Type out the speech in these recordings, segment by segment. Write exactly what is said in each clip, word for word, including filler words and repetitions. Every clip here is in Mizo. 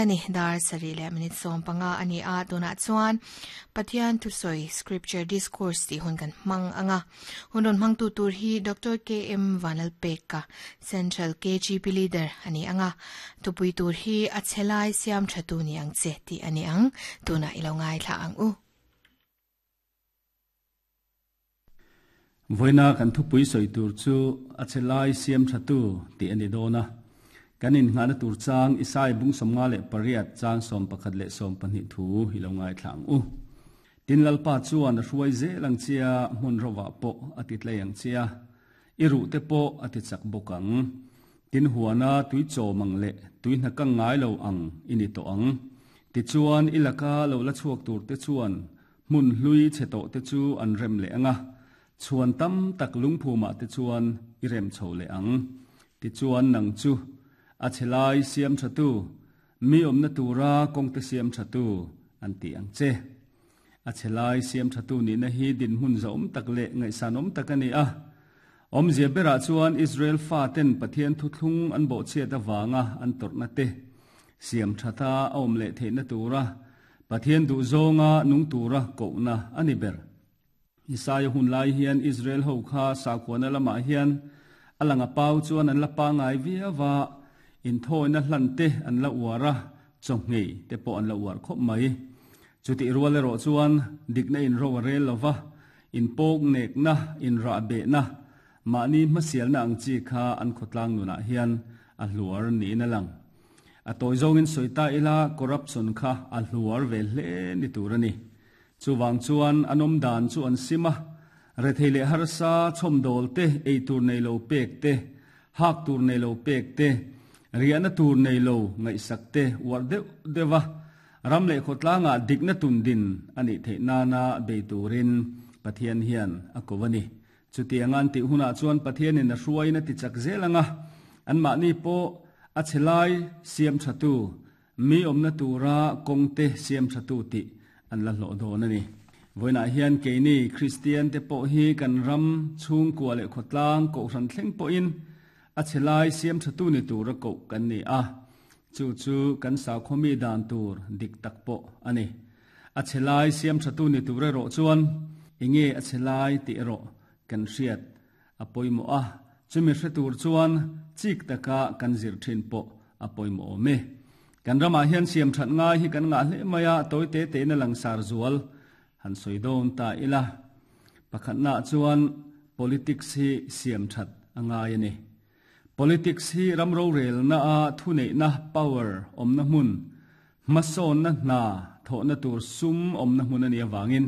Ani dar sarih leh minute sawm panga a ni a, tunah chuan Pathian thusawi Scripture Discourse tih hun kan hmang anga. Hun rawn hmangtu tur hi Doctor KM Vanlalpeka, Central KGP Leader a ni anga. Thupui tur hi A chhe lai siam tha tu ni ang che tih a ni ang. Tunah i lo ngaithla ang u. Vawiina kan thupui sawi tur chu A chhe lai siam tha tu tih a ni dawn a. Kan innghahna tur chang Isai bung sawmnga leh pariat chang sawm pakhat leh sawm pahnih thu i lo ngaithla ang u. Tin Lalpa chuan a hruai zel ang chia, hmun rovah pawh a ti tlei ang chia, i ruh te pawh a ti chak bawk ang. Tin huana tui chawm ang leh tui hna kang ngai lo ang i ni tawh ang. Tichuan i laka lo la chhuak tur te chuan hmun hlui chhe tawh te chu an rem leh ang a, chhuan tam tak lungphumah te chuan i rem chho leh ang. Tichuan nang chu a chhe lai siam tha tu, mi awmna tura kawngte siam tha tu an ti ang che. A chhe lai siam tha tu nihna hi dinhmun zahawm tak leh ngaihsanawm tak a ni a. Awmzia berah chuan Israel faten Pathian thuthlung an bawhchhiat avanga an tawrhna te siam thata a awm leh theihna tura Pathian duhzawnga nung tura kohna a ni ber. Isaia hun lai hian Israel ho kha sakhuana lamah hian a lang a pau chuan an la pangai viau a, inthawina hlan te an la uar a, chawhngei te pawh an la uar khawp mai. Chutih rual erawh chuan dikna inro a rel lova, inpawk nekna, inrahbehna, mahni hmasialna ang chi kha an khawtlang nunah hian a hluar niin a lang. A tawi zawngin sawi ta ila corruption kha a hluar ve hle ni tur a ni. Chuvang chuan an awm dan chu an sim a, rethei leh harsa chhawmdawl te, ei tur nei lo pek te, hak tur nei lo pek te, riahna tur nei lo ngaihsak te uar deuh deuh a, ram leh khawtlangah dikna tun din a nih theih nana bei turin Pathian hian a ko a ni. Chutiang an tih hunah chuan Pathianin a hruaiin a ti chak zel ang a, anmahni pawh a chhe lai siam thatu, mi awmna tura kawngte siam thatu tih an la hlawh dawn a ni. Vawiinah hian keini Kristian te pawh hi kan ram chhungkua leh khawtlang kohhran thleng pawhin a chhe lai siam thatu ni tura koh kan ni a, chu chu kan saukhawmi dan tur dik tak pawh a ni. A chhe lai siam thatu ni tur erawh chuan enge a chhe lai tih erawh kan hriat a pawimawh a, chumi hre tur chuan chik taka kan zir thin pawh a pawimawh awm e. Kan ramah hian siam that ngai hi kan ngah hle mai a, tawi te tein a langsar zual han sawi dawn ta ila. Pakhatnaah chuan politics hi siam that a ngai a ni. Politics hi ram rorelna a thuneihna, power, awmna hmun, hmasawnna hna thawhna tur sum awmna hmun a nih avangin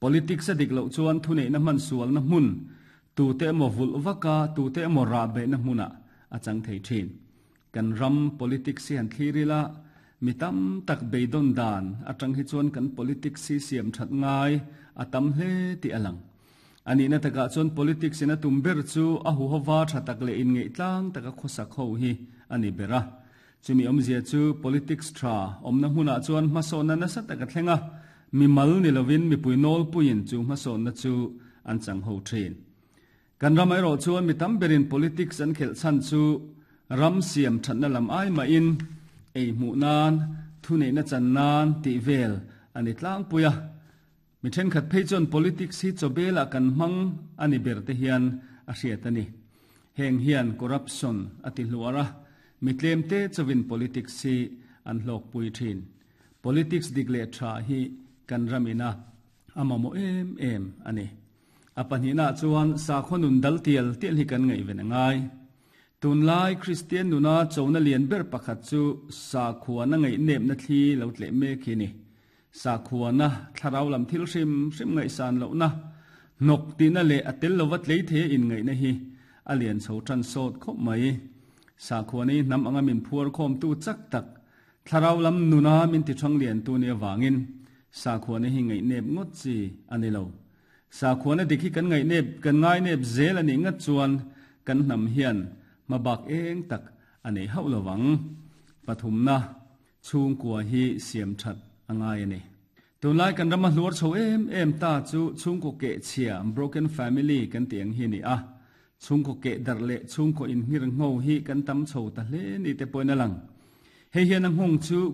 politics a dik loh chuan thuneihna hman sualna hmun, tute emaw vulh vaka, tute emaw rah behna hmunah a chang thei thin. Kan ram politics hi han thlir ila, mi tam tak beidawn dan atang hi chuan kan politics hi siam that ngai a tam hle tih a lang. A nihna takah chuan politics in a tum ber chu a huhova tha tak leh inngeihtlang taka khawsak ho hi a ni ber a. Chumi awmzia chu politics tha awmna hmunah chuan hmasawnna nasa tak a thleng a, mimal ni lovin mipui nawlpuiin chu hmasawnna chu an chang ho thin. Kan ram erawh chuan mi tam berin politics an khelh chhan chu ram siam thatna lam ai mahin ei hmuh nan, thuneihna chan nan tih vel a ni tlangpui a. Mi thenkhat phei chuan politics hi chawbelah kan hmang a ni ber te hian a hriat a ni. Heng hian corruption a ti hluar a, mi tlemte chawin politics hi an hlawkpui thin. Politics dik leh tha hi kan ramina a mamawh em em a ni. A pahnihnaah chuan sakhaw nun dal tial tial hi kan ngaihven a ngai. Tunlai Kristian nuna chona lian ber pakhat chu sakhuana ngaihnepna thli lo tleh mek hi a ni. Sakhuana thlarau lam thil hrim hrim ngaihsan lohna, hnawk tihna leh a tel lova tlei thei a inngaihna hi a lian chho tan sawt khawp mai. Sakhuana hi hnam anga min phuar khawmtu chak tak, thlarau lam nuna min ti thang liantu nia vangin sakhuana hi ngaihnep ngawt chi a ni lo. Sakhuana dik hi kan ngaihnep, kan ngainep zel a nih ngat chuan kan hnam hian hmabak eng tak a nei hauh lo vang. Pathumna, chhungkua hi siam that a ngai a ni. Tunlai kan rama hluar chho em em ta chu chhungkaw keh chhia, broken family, kan tih ang hi a ni a. Chhungkaw keh darh leh chhungkaw inhngir ngho hi kan tam chho ta hle ni te pawhin a lang. Hei hian a nghawng chu